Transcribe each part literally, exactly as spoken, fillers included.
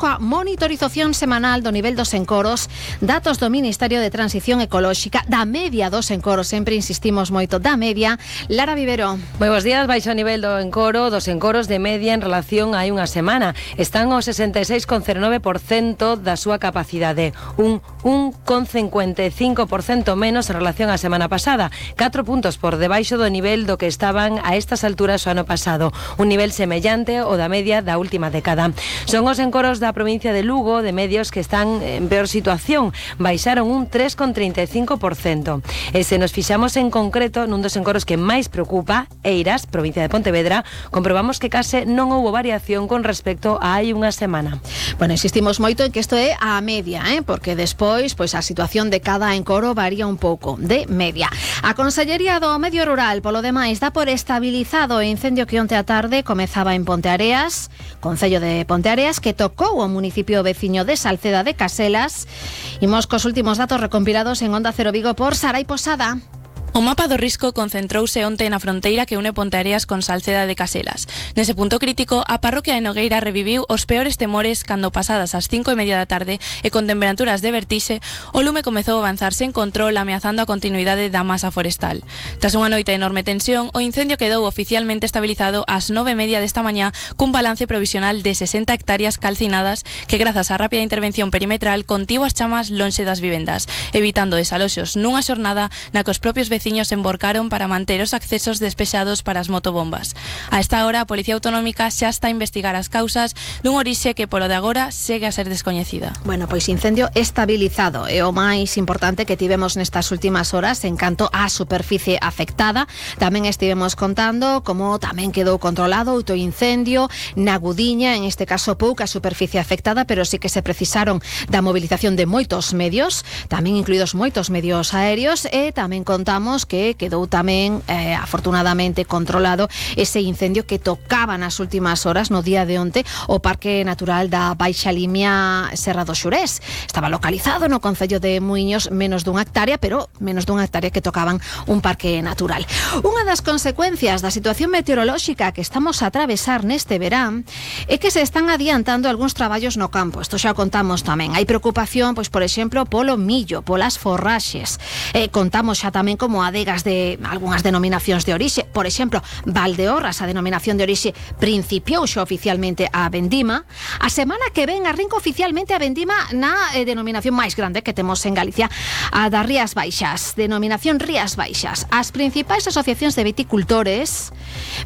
coa monitorización semanal do nivel dos encoros, datos do Ministerio de Transición Ecolóxica, da media dos encoros, sempre insistimos moito, da media. Lara Vivero. Moi bons días. Baixo o nivel do encoro, dos encoros de media en relación a hai unha semana. Están ao sesenta e seis coma cero nove por cento da súa capacidade, un un coma cincuenta e cinco por cento menos en relación á semana pasada, catro puntos por debaixo do nivel do que estaban a estas alturas o ano pasado, un nivel semellante ao da media da última década. Son os encoros da provincia de Lugo, de medios, que están en peor situación, baixaron un tres coma trinta e cinco por cento. E se nos fixamos en concreto nun dos encoros que máis preocupa, Eiras, provincia de Pontevedra, comprobamos que case non houbo variación con respecto a hai unha semana. Bueno, insistimos moito en que isto é a media, eh? Porque despois, pois a situación de cada encoro varía un pouco, de media. A Consellería do Medio Rural, polo demais, dá por estabilizado o incendio que onte a tarde comezaba en Ponteareas, Concello de Ponteareas, que tocou o municipio veciño de Salceda de Caselas. Imos cos últimos datos recompilados en Onda Cero Vigo por Sarai Posada. O mapa do risco concentrouse onte na fronteira que une Ponteareas con Salceda de Caselas. Nese punto crítico, a parroquia de Nogueira reviviu os peores temores cando, pasadas as cinco e media da tarde e con temperaturas de vertixe, o lume comezou a avanzar sen control, ameazando a continuidade da masa forestal. Tras unha noite de enorme tensión, o incendio quedou oficialmente estabilizado ás nove e media desta mañá cun balance provisional de sesenta hectáreas calcinadas que, grazas á rápida intervención perimetral, contivo as chamas lonxe das vivendas, evitando desaloxos nunha xornada na que os propios vecinos veciños emborcaron para manter os accesos despexados para as motobombas. A esta hora, a Policía Autonómica xa está a investigar as causas dun orixe que, polo de agora, segue a ser descoñecida. Bueno, pois incendio estabilizado é o máis importante que tivemos nestas últimas horas en canto á superficie afectada. Tamén estivemos contando como tamén quedou controlado outro incendio na Gudiña, en este caso pouca superficie afectada, pero sí que se precisaron da movilización de moitos medios, tamén incluídos moitos medios aéreos, e tamén contamos que quedou tamén eh, afortunadamente controlado ese incendio que tocaba nas últimas horas, no día de onte, o Parque Natural da Baixa Limia Serra do Xurés. Estaba localizado no concello de Muiños, menos dunha hectárea, pero menos dunha hectárea que tocaban un parque natural. Unha das consecuencias da situación meteorolóxica que estamos a atravesar neste verán é que se están adiantando algúns traballos no campo. Isto xa o contamos tamén. Hai preocupación, pois, por exemplo, polo millo, polas forraxes. Eh, contamos xa tamén como adegas de algunhas denominacións de orixe. Por exemplo, Valdeorras, a denominación de orixe, principiou xa oficialmente a vendima. A semana que ven arrinca oficialmente a vendima na eh, denominación máis grande que temos en Galicia, a das Rías Baixas, denominación Rías Baixas. As principais asociacións de viticultores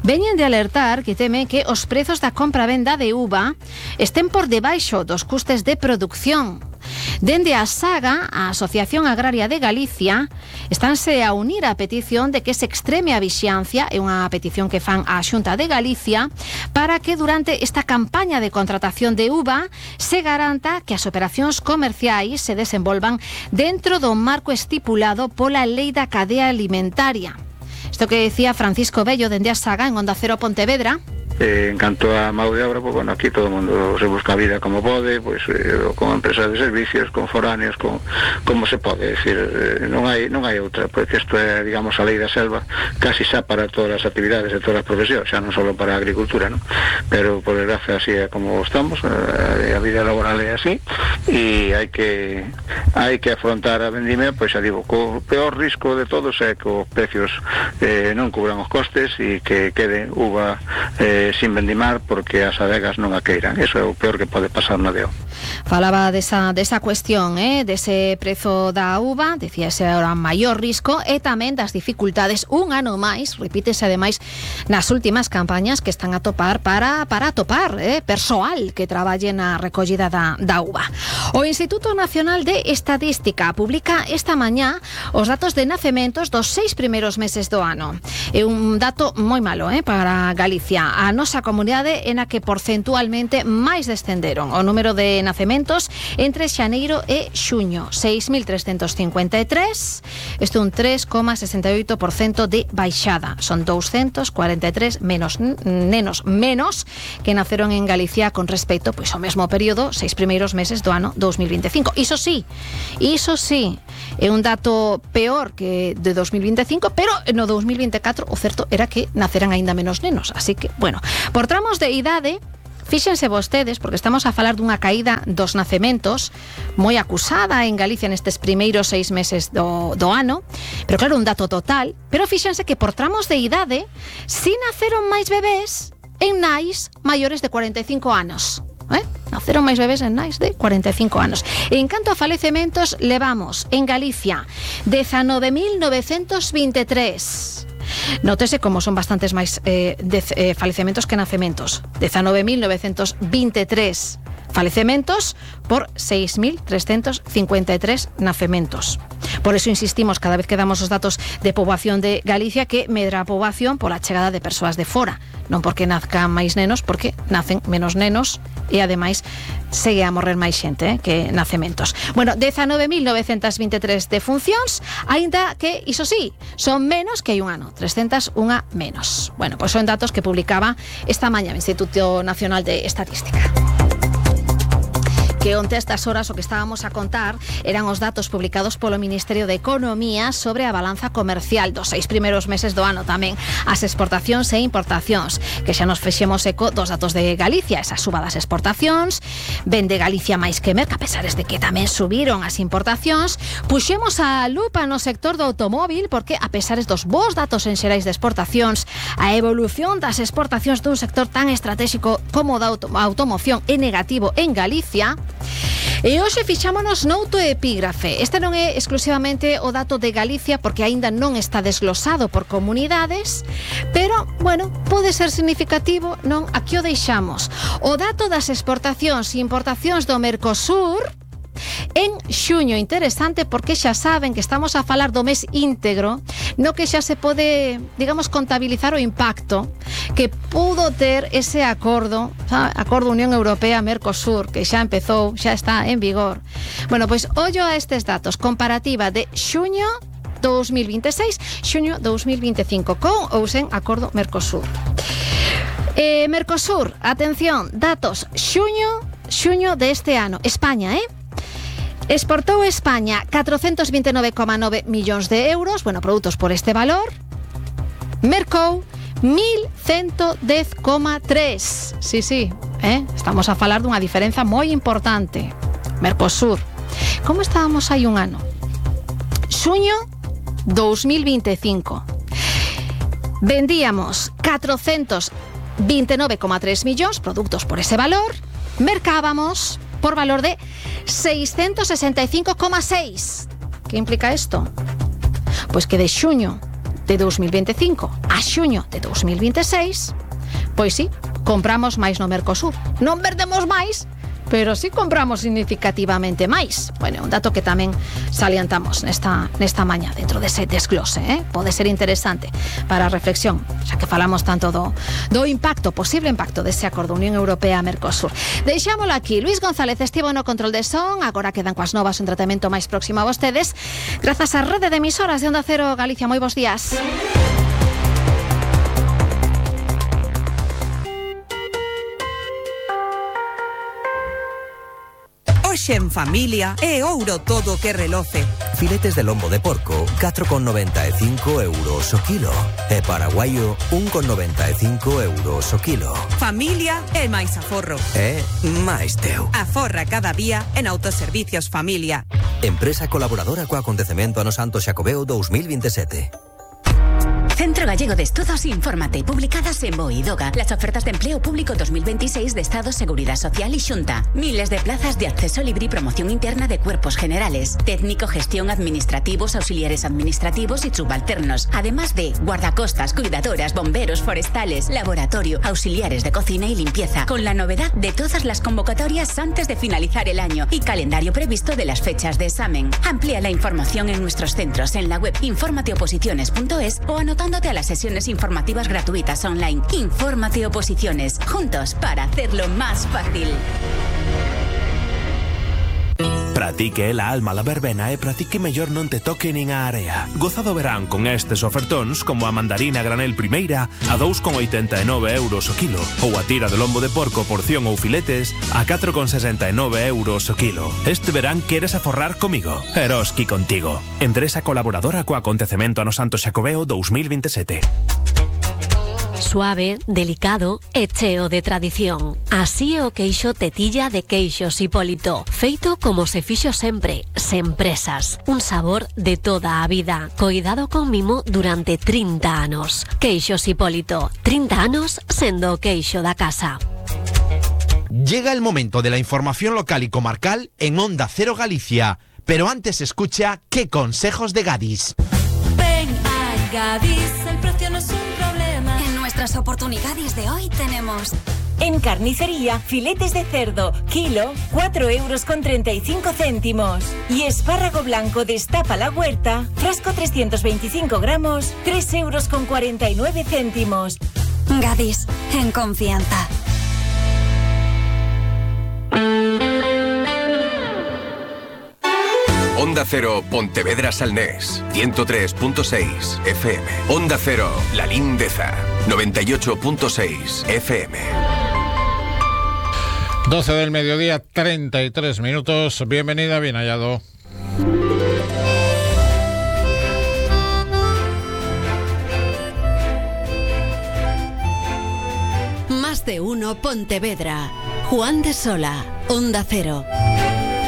veñen de alertar que temen que os prezos da compra-venda de uva estén por debaixo dos custes de produción. Dende a Saga, a Asociación Agraria de Galicia, estánse a unir á petición de que se extreme a vixiancia, é unha petición que fan á Xunta de Galicia, para que durante esta campaña de contratación de uva se garanta que as operacións comerciais se desenvolvan dentro do marco estipulado pola Lei da Cadea Alimentaria. Isto que decía Francisco Bello dende a Saga en Onda Cero Pontevedra. Eh, en canto a mão de obra, pues, bueno, aquí todo o mundo se busca a vida como pode, pues, eh, con empresas de servicios, con foráneos, con como se pode, decir, eh, non hai non hai outra, porque isto é, digamos, a lei da selva, casi xa para todas as actividades e todas as profesións, xa non só para a agricultura, ¿no? Pero por desgracia así é como estamos, eh, a vida laboral é así, e hai que hai que afrontar a vendimia, pois xa digo, co peor risco de todos é que os precios eh, non cubran os costes e que quede uva eh, sin vendimar porque as adegas non a queiran. Eso é o peor que pode pasar na D O. Falaba desa, desa cuestión, eh, dese prezo da uva, decía ese era o maior risco, e tamén das dificultades un ano máis, repítese ademais nas últimas campañas que están a topar para, para topar eh, persoal que traballe na recollida da, da uva. O Instituto Nacional de Estadística publica esta mañá os datos de nacementos dos seis primeiros meses do ano. É un dato moi malo eh, para Galicia, a nosa comunidade en a que porcentualmente máis descenderon o número de nacementos entre xaneiro e xuño, seis mil trescentos cincuenta e tres, isto un tres coma sesenta e oito por cento de baixada. Son doscientos cuarenta e tres menos nenos menos que naceron en Galicia con respecto pois ao mesmo período, seis primeiros meses do ano dos mil veinticinco. Iso sí, iso sí, é un dato peor que de dos mil veinticinco, pero no dos mil veinticuatro o certo era que naceran aínda menos nenos, así que, bueno, por tramos de idade, Fíxense vostedes, porque estamos a falar dunha caída dos nacementos moi acusada en Galicia nestes primeiros seis meses do, do ano, pero claro, un dato total, pero fíxense que por tramos de idade si naceron máis bebés en nais maiores de cuarenta e cinco anos. ¿Eh? Naceron máis bebés en nais de cuarenta e cinco anos. En canto a falecementos, levamos en Galicia dezanove mil novecentos veintitrés. Nótese como son bastantes máis eh, de, eh, falecementos que nacementos. dezanove mil novecentos veintitrés falecementos por seis mil trescentos cincuenta e tres nacementos. Por eso insistimos cada vez que damos os datos de poboación de Galicia que medra a poboación pola chegada de persoas de fora, non porque nazcan máis nenos, porque nacen menos nenos e ademais segue a morrer máis xente eh, que nacementos. Bueno, dezanove mil novecentos veintitrés defuncións, aínda que, iso sí, son menos que hai un ano, trescentos unha menos. Bueno, pois son datos que publicaba esta mañá o Instituto Nacional de Estadística. Que onte a estas horas o que estábamos a contar eran os datos publicados polo Ministerio de Economía sobre a balanza comercial dos seis primeiros meses do ano, tamén as exportacións e importacións, que xa nos fexemos eco dos datos de Galicia, esa suba das exportacións, vende Galicia máis que merca, a pesar de que tamén subiron as importacións. Puxemos a lupa no sector do automóvil, porque a pesar dos bons datos en xerais de exportacións, a evolución das exportacións dun sector tan estratégico como da auto automoción é negativo en Galicia. E hoxe fixámonos nouto epígrafe. Este non é exclusivamente o dato de Galicia, porque aínda non está desglosado por comunidades, pero, bueno, pode ser significativo, non? Aquí o deixamos. O dato das exportacións e importacións do Mercosur en xuño, interesante, porque xa saben que estamos a falar do mes íntegro, no que xa se pode, digamos, contabilizar o impacto que pudo ter ese acordo, ¿sabe? Acordo Unión Europea-Mercosur, que xa empezou, xa está en vigor. Bueno, pois ollo a estes datos, comparativa de xuño dos mil veintiséis, xuño dos mil veinticinco, con ou sen acordo Mercosur. Eh, Mercosur, atención, datos, xuño, xuño de este ano, España, eh? Exportou España catrocentos veintinueve coma nove millóns de euros, bueno, produtos por este valor. Mercou mil ciento dez coma tres. Sí, sí, eh? Estamos a falar dunha diferenza moi importante. Mercosur. Como estábamos hai un ano? Xuño dos mil veinticinco. Vendíamos catrocentos veintinueve coma tres millóns, produtos por ese valor. Mercábamos por valor de seiscientos sesenta y cinco coma seis. ¿Qué implica esto? Pues que de xuño de dos mil veinticinco a xuño de dos mil veintiséis, pois sí, compramos máis no Mercosur. Non vendemos máis, pero sí compramos significativamente máis. Bueno, un dato que tamén salientamos nesta, nesta mañá dentro dese desglose, eh? Pode ser interesante para a reflexión, xa que falamos tanto do, do impacto, posible impacto dese acordo Unión Europea-Mercosur. Deixámolo aquí. Luis González estivo no control de son, agora quedan coas novas un tratamento máis próximo a vostedes, grazas á rede de emisoras de Onda Cero Galicia. Moi bons días. Hoxe en familia é ouro todo que reloce. Filetes de lombo de porco, catro con noventa e cinco euros o kilo. E paraguaio, un con noventa e cinco euros o kilo. Familia é máis aforro. É máis teu. Aforra cada día en Autoservicios Familia. Empresa colaboradora co acontecemento Ano Santo Xacobeo dos mil veintisiete. Centro Gallego de Estudos, infórmate. Publicadas en BOE y DOGA. Las ofertas de empleo público dos mil veintiséis de Estado, Seguridad Social y Xunta. Miles de plazas de acceso libre y promoción interna de cuerpos generales. Técnico, gestión, administrativos, auxiliares administrativos y subalternos. Además de guardacostas, cuidadoras, bomberos, forestales, laboratorio, auxiliares de cocina y limpieza. Con la novedad de todas las convocatorias antes de finalizar el año y calendario previsto de las fechas de examen. Amplía la información en nuestros centros en la web infórmateoposiciones punto es o anotándote a las sesiones informativas gratuitas online. Infórmate Oposiciones, juntos para hacerlo más fácil. Para ti que é la alma la verbena e para ti que mellor non te toque nin a area. Goza do verán con estes ofertóns como a mandarina granel primeira a dous con oitenta e nove euros o kilo ou a tira de lombo de porco porción ou filetes a catro con sesenta e nove euros o kilo. Este verán queres aforrar comigo? Eroski contigo. Empresa colaboradora co acontecemento Ano Santo Xacobeo dos mil veintisiete. Suave, delicado e cheo de tradición. Así é o queixo Tetilla de Queixos Hipólito, feito como se fixo sempre, sen presas. Un sabor de toda a vida, coidado con mimo durante trinta anos. Queixos Hipólito, trinta anos sendo o queixo da casa. Llega el momento de la información local y comarcal en Onda Cero Galicia, pero antes escucha qué consejos de Gadis. Ven a Gadis, el precio no es un problema. En nuestras oportunidades de hoy tenemos... En carnicería, filetes de cerdo, kilo, cuatro euros con treinta y cinco céntimos. Y espárrago blanco destapa la huerta, frasco trescientos veinticinco gramos, tres euros con cuarenta y nueve céntimos. Gadis, en confianza. Onda Cero, Pontevedra Salnés, ciento tres punto seis F M. Onda Cero, La Lindeza, noventa y ocho punto seis F M. doce del mediodía, treinta y tres minutos. Bienvenida, bien hallado. Más de uno Pontevedra. Juan de Sola, Onda Cero.